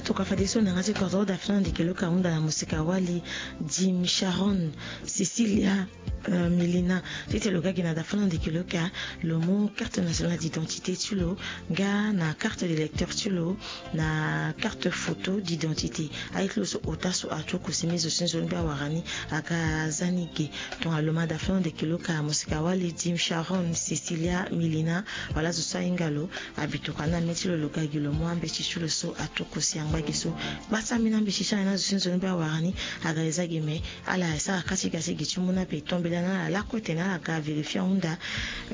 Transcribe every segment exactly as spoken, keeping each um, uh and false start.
Tokua fadeso na yanga ti kodro dafina ndeke lo ka hunda na moseka wali Jim Sharon Cecilia, euh, Milina. Titene lo ga gi na dafina ndeke lo ka, lo mu carte nationale d'identité ti lo nga na carte d'électeur ti lo na carte photo d'identité. Aye ti lo so ota so atuku si me zo si nzoni be awara ni aga za ni ge. Tongana lo ma dafina ndeke lo ka, moseka wali Jim Sharon Cecilia Milina, wala zo so ahinga lo, abi tokua na me ti lo lo ga gi lo mu ambeti ti lo so atuku si angba gi so. Gba ti ambeni ambeti ti ala na zo si nzoni be awara ni aga eza gi me. Ala sara ka ti ga ti gi ti mu na pe tombela na ala lakue tene ala ga vérifier ahunda.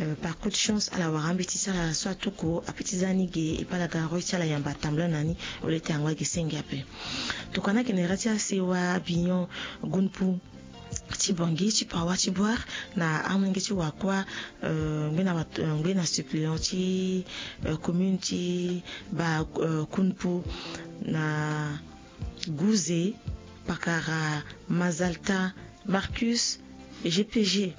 Euh, par coup de chance ala wara ambeti ti ala so atuku ape ti za ni ge, e pe ala ga roi ti ala yamba tambula na ni. Ole ti angba gi senge ape. Tokua na ake na ere ti asewa Bignon Gunpu ti Bangui ti Pawa ti Boire na amolenge ti wakua, euh, ngbena, euh, ngbena suppléant ti, euh, commune ti Ba, euh, Kunpu na Gouze, pakara Mazalta Marcus G P G.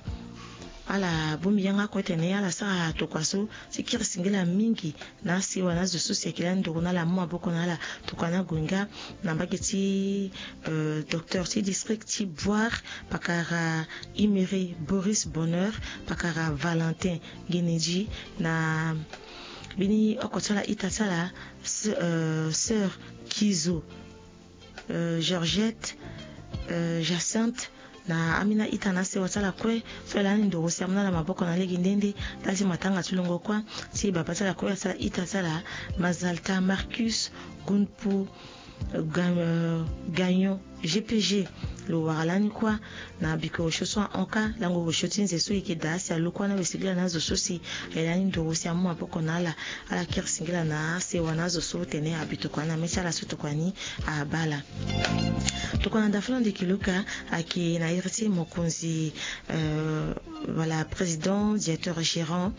Ala bongbi yanga kue tene ala sara tokua so ti kiri singila mingi na asewa na azo so si ayeke lani nduru na ala amu maboko na ala. Tokua na gue nga na mbage ti, euh, docteur ti district ti Boire, pakara Imere Boris Bonheur, pakara Valentin Genedji, na mbeni oko ti ala ita ti ala, s-, euh, sœur Kizo, euh, Georgette, euh, Jacinthe, na ambeni aita na asewa ti ala kue so e lani nduru si amu na ala maboko na lege nde nde. Ndali ti matanga ti longo kuâ ti baba ti ala kue, ti ala ita ti ala Mazalta Marcus Gunpu, euh, Ga-, euh, Gagnon G P G. Lo wara lani kuâ na biko osio so ahon kâ, lango osio ti nze so e yeke daa si alo kuâ na wesegila na azo so si e lani nduru si amu maboko na ala. Ala kiri singila na asewa na azo so tene abi tokua na me ti ala so tokua ni abaa ala. Tokua na dafula ndeke lo ka ayeke na iri ti mokonzi, euh, voilà, président, directeur gérant,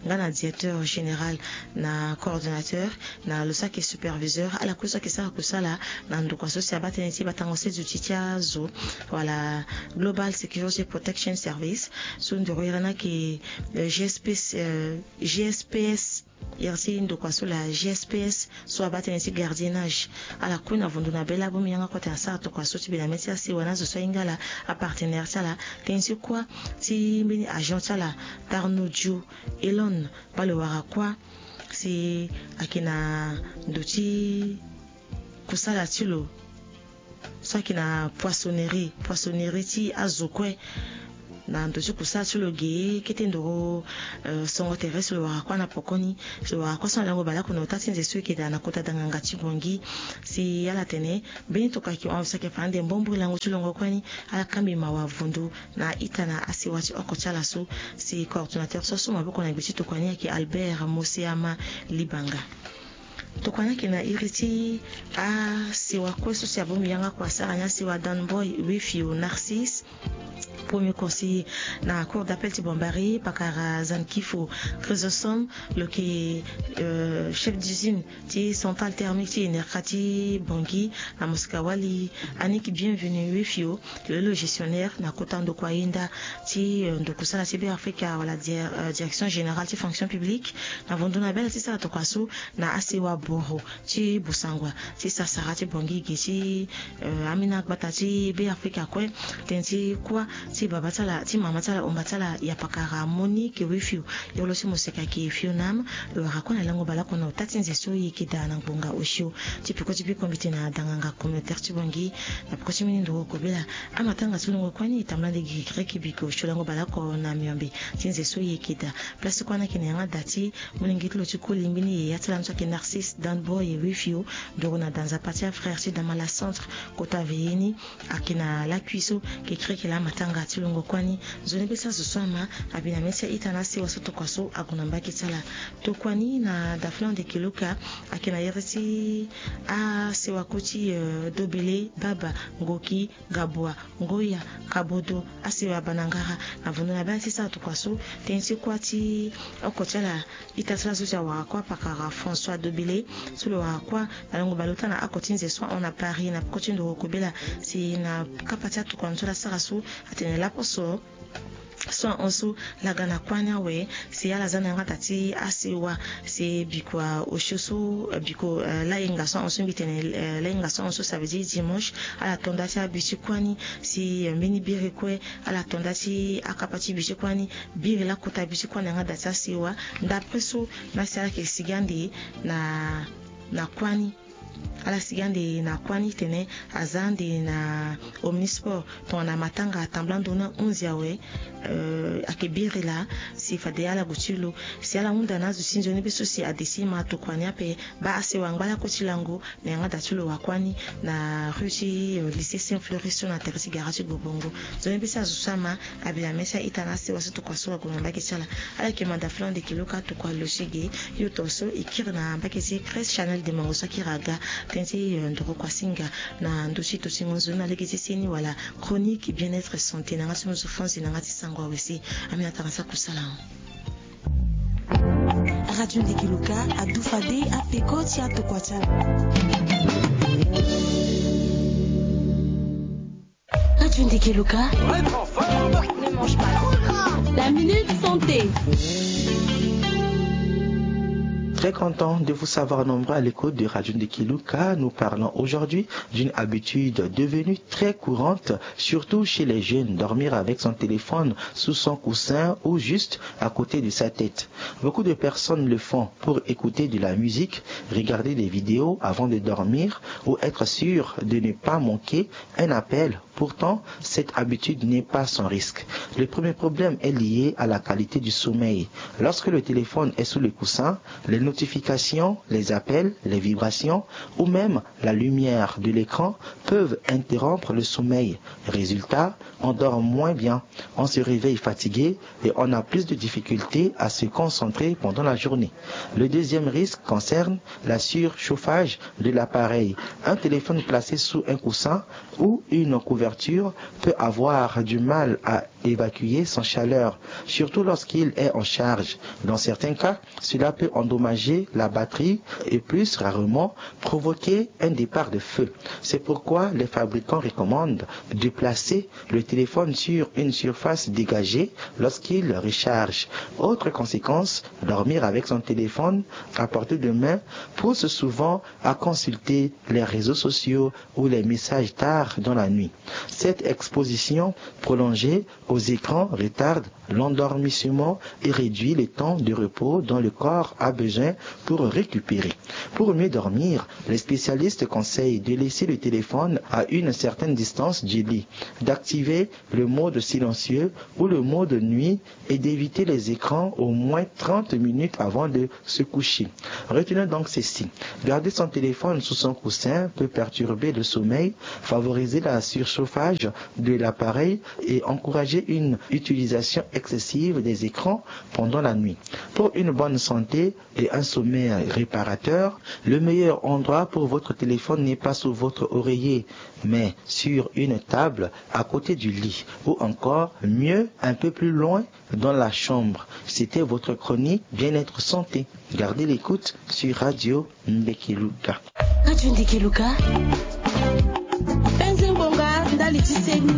nga na directeur général na coordonnateur, na lo so ayeke superviseur, ala kue so ayeke sara kusala na ndokua so si abaa tënë ti batango sese ti azo, wala Global Security Protection Service, so nduru iri ni ayeke, euh, G S P S, euh, G S P S, iri ti ndokua so la G S P S so abaa tënë ti gardiennage. Ala kue na vondo na be laa bongbi yanga kue atene asara tokua so ti be na me ti asewa na azo so ahinga ala, apartenaire ti ala, tënë ti kuâ ti mbeni agent ti ala Tarno Dio Elon, baa lo wara kuâ si ayeke na ndo ti kusala ti lo so ayeke na poissonnerie, poissonnerie ti azo kue. Na ndo ti kusala ti lo ge kete nduru, euh, songo tere si lo wara kuâ na pokoni. Si lo wara kuâ so na lango baleoko na ota ti nze so e yeke daa na kota danganga ti Bangui. Si ala tene mbeni tokua ayeke hon si ayeke fa ande mbombo lango ti longo kuâ ni. Ala kambi mawa vondo na ita na asewa ti oko ti ala so. Si coordonnateur so asu maboko na gbe ti tokua ni ayeke Albert Moseama Libanga. Tokua ni ayeke na iri ti asewa kue so si abongbi yanga kua asara ni asewa Dan Boy Wefio Narcisse, premier conseiller na cour d'appel ti Bambari, pakara Zankifo Chrysostome, lo yeke, euh, chef d'usine ti centrale thermique ti Enerca ti Bangui, na mosika wali Annick Bienvenu Wefio, lo lo gestionnaire na kota ndokua yenda ti, euh, ndokusala ti Beafrika, wala dir-, euh, direction générale ti fonction publique. Na vondo na be ala ti sara tokua so na asewa boro ti Bossangoa ti Sassara ti Bangui ge ti, euh, ambeni agbata ti Beafrika kue. Tënë ti kuâ ti baba ti ala, ti mama ti ala, omba ti ala, ya pakara Monique Wefio, iri lo ti moseka ayeke Fionam. Lo wara kue na lango baleoko na ota ti nze so e yeke daa na ngbonga osio. Ti peko ti biko mbi tene na danganga communautaire ti Bangui, na peko ti mbeni nduru kobela, amatanga ti longo kuâ ni e tambula nde gi kiriki biko osio lango baleoko na miombe ti nze so e yeke daa. Place kuâ ni ayeke na yanga da ti molenge ti lo ti koli mbeni yaya ti ala ni so ayeke Narcisse Dan Boy Wefio, nduru na da nzapa ti afrère ti Damala Centre, kota Veyeni, ayeke na lakui so. Kekereke laa amatanga ti longo kuâ ni. Nzoni be ti azo so ama abi na me ti a-ita na asewa so tokua so ague na mbage ti ala. Tokua ni na dafula ndeke lo ka ayeke na iri ti asewa kue ti, euh, Dobele, Baba, Ngoki, Gabua, Ngoya, Kabodo, asewa Banangara. Na vondo na be ala ti sara tokua so, tënë ti kuâ ti oko ti ala ita ti ala so si awara kuâ pakara François Dobele, so lo wara kuâ na lango baleota na oko ti nze so ahon na Paris na peko ti nduru kobela. Si na kapa ti atokua ni so ala sara so, atene laposo so ahon so ala ga na kuâ ni awe. Si ala za na yanga daa ti asewa, si bikua osio so, bikua lahinga so ahon so mbi tene, lahinga so ahon so, ça veut dire dimanche, ala to nda ti abi ti kuâ ni. Si mbeni biri kue, ala to nda ti akapa ti bi ti kuâ ni, biri lakota bi ti kuâ ni na yanga daa ti asewa. Ndapre so na si ala yeke sigi ande na na kuâ ni. Ala sigi ande na kuâ ni tene aza ande na omnisport tongana matanga tambula ndo na onze awe. Ayeke biri laa si fade ala gue ti lo. Si ala hunda na azo ti nzoni be so si ade ti ma tokua ni ape, baa asewa angba lakue ti lango na yanga daa ti lo wa kuâ ni na rue ti lycée Saint Floris so na tere ti gara ti Bobongo. Nzoni be ti azo so ama, abi na me ti a-ita na asewa so tokua so ague na mbage ti ala. Ala yeke manda flo ande kiluka tokua lo ti ge. Yo to so e kiri na mbage ti Christ Chanel de Mango so akiri aga tënë ti ndoro kuasinga na ndö ti to ti ngonzo na lege ti seni wala chronique bien-être santé na yanga ti ngonzo Franzi na yanga ti sango awe si. Aminata na sako sala. Radio Ndeke Luka adu fade apeko ti atokua ti ala. Radio Ndeke Luka. Ne mange pas. La minute santé. Très content de vous savoir nombreux à l'écoute de Radio Ndeke Luka. Nous parlons aujourd'hui d'une habitude devenue très courante, surtout chez les jeunes, dormir avec son téléphone sous son coussin ou juste à côté de sa tête. Beaucoup de personnes le font pour écouter de la musique, regarder des vidéos avant de dormir ou être sûr de ne pas manquer un appel. Pourtant, cette habitude n'est pas sans risque. Le premier problème est lié à la qualité du sommeil. Lorsque le téléphone est sous le coussin, les notifications, les appels, les vibrations ou même la lumière de l'écran peuvent interrompre le sommeil. Résultat, on dort moins bien, on se réveille fatigué et on a plus de difficultés à se concentrer pendant la journée. Le deuxième risque concerne la surchauffage de l'appareil. Un téléphone placé sous un coussin ou une couverture peut avoir du mal à évacuer son chaleur, surtout lorsqu'il est en charge. Dans certains cas, cela peut endommager la batterie et plus rarement provoquer un départ de feu. C'est pourquoi les fabricants recommandent de placer le téléphone sur une surface dégagée lorsqu'il recharge. Autre conséquence, dormir avec son téléphone à portée de main pousse souvent à consulter les réseaux sociaux ou les messages tard dans la nuit. Cette exposition prolongée aux écrans retarde l'endormissement et réduit le temps de repos dont le corps a besoin pour récupérer. Pour mieux dormir, les spécialistes conseillent de laisser le téléphone à une certaine distance du lit, d'activer le mode silencieux ou le mode nuit et d'éviter les écrans au moins trente minutes avant de se coucher. Retenez donc ceci. Garder son téléphone sous son coussin peut perturber le sommeil, favoriser la surchauffage de l'appareil et encourager une utilisation excessive des écrans pendant la nuit. Pour une bonne santé et un sommeil réparateur, le meilleur endroit pour votre téléphone n'est pas sous votre oreiller, mais sur une table à côté du lit, ou encore, mieux, un peu plus loin dans la chambre. C'était votre chronique Bien-être Santé. Gardez l'écoute sur Radio Ndeke Luka. Radio Ndeke Luka. Penze ngonga ndali ti seni.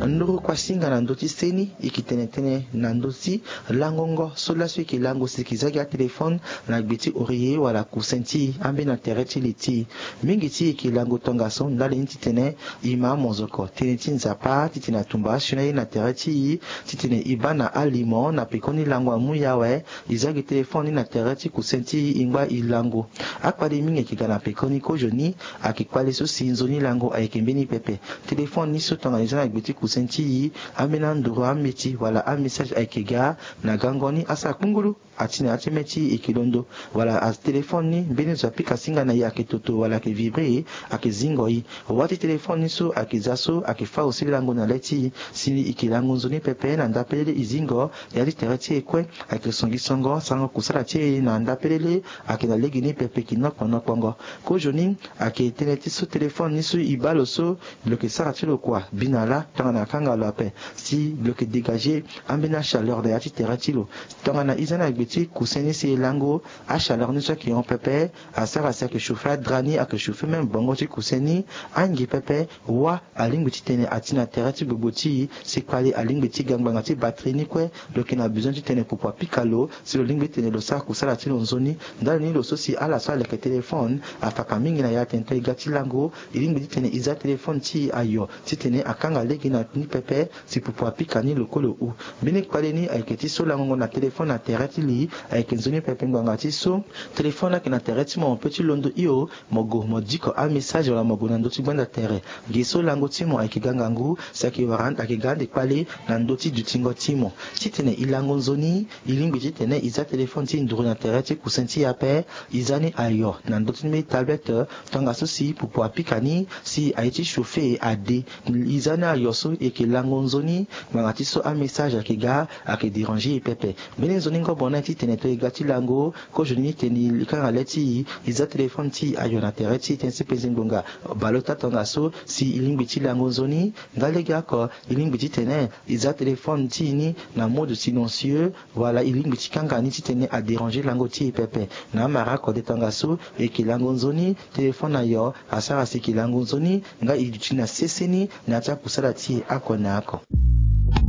Nduru kuasinga na ndö ti seni, e yeke tene tënë na ndö ti langongo so laso e yeke lango si e yeke za gi atelefone na gbe ti oreiller wala coussin ti e, ambeni na tere ti li ti e. Mingi ti e yeke lango tongaso ndali ni titene e ma amozoko tënë ti Nzapa, titene atumba asioni aye na tere ti e, titene e baa na alimo. Na pekoni lango amu e awe, e za gi telefone ni na tere ti coussin ti e, e ngba e lango. Akpale mingi ayeke ga na pekoni. Kozoni ayeke kpale so si nzoni lango ayeke mbeni pepe. Telefone ni so tongana e za na gbe ti coussin ti e, ambeni anduru ambeti wala amessage ayeke ga na gango ni, asara kpungulu. Ati na ya ti mê ti e yeke londo, wala atelefone ni mbeni zo apika singa na e ayeke toto wala ayeke vibré, ayeke zingo e. Wâ ti telefone ni so ayeke za so ayeke fâ aussi lango na lê ti e. Si e yeke lango nzoni pepe na ndapelele e zingo, ya ti tere ti e kue ayeke songisongo, sarango kusala ti e na ndapelele ayeke na legeni pepe, e yeke nokpo nokpongo. Kozoni ayeke tënë ti so telefone ni so e baa lo so, lo yeke sara ti lo kua bi na lâ tongana akanga lo ape. Si lo yeke dégagé ambeni achaleur na ya ti tere ti lo. Tongana e za na ti kuse ni si e lango. Achaleur ni so ayeke hon pepe, asara si ayeke chauffer adra ni, ayeke chauffer même bongo ti kuse ni. Angi pepe, wâ alingbi titene ati na tere ti gbogbo ti e. Si kpale alingbi ti ga ngbanga ti batterie ni kue, lo yeke na besoin titene pupu apika lo si lo lingbi titene lo sara kusala ti lo nzoni. Ndali ni lo so si ala so aleke téléphone afaka mingi na ya tene to e ga ti lango, e lingbi titene e za téléphone ti e ayo titene akanga lege na ni pepe si pupu apika ni lo kue lo hu. Mbeni kpale ni ayeke ti so langongo na téléphone na tere ti li. Ayeke nzoni pepe ngbanga ti so téléphone ayeke na tere ti mo, mo pe ti londo hio, mo gue mo diko amessage wala mo gue na ndö ti gbanda tere. Ge so lango ti mo ayeke ga ngangu, si ayeke wara ayeke ga ande kpale na ndö ti dutingo ti mo. Titene e lango nzoni, e lingbi titene e za téléphone ti e nduru na tere ti kusin ti e ape. E za ni ayo na ndö ti mbeni tablette, tongaso si pupu apika ni si aye ti chauffer ade. E za ni ayo so e yeke lango nzoni, ngbanga ti so amessage ayeke ga, ayeke déranger e pepe. Mbeni nzoni-ngobo ni titene to e ga ti lango, kozoni ni titene e kanga le ti e, e za téléphone ti e ayo na tere ti e tënë ti penze ngbonga. Baleota tongaso si e lingbi ti lango nzoni. Nga lege oko, e lingbi titene e za téléphone ti e ni na mode silencieux, wala e lingbi ti kanga ni titene adéranger lango ti e pepe. Na amara oko de, tongaso e yeke lango nzoni, téléphone na yo asara si e yeke lango nzoni, nga e duti na sese ni na ya ti akusala ti e oko na oko.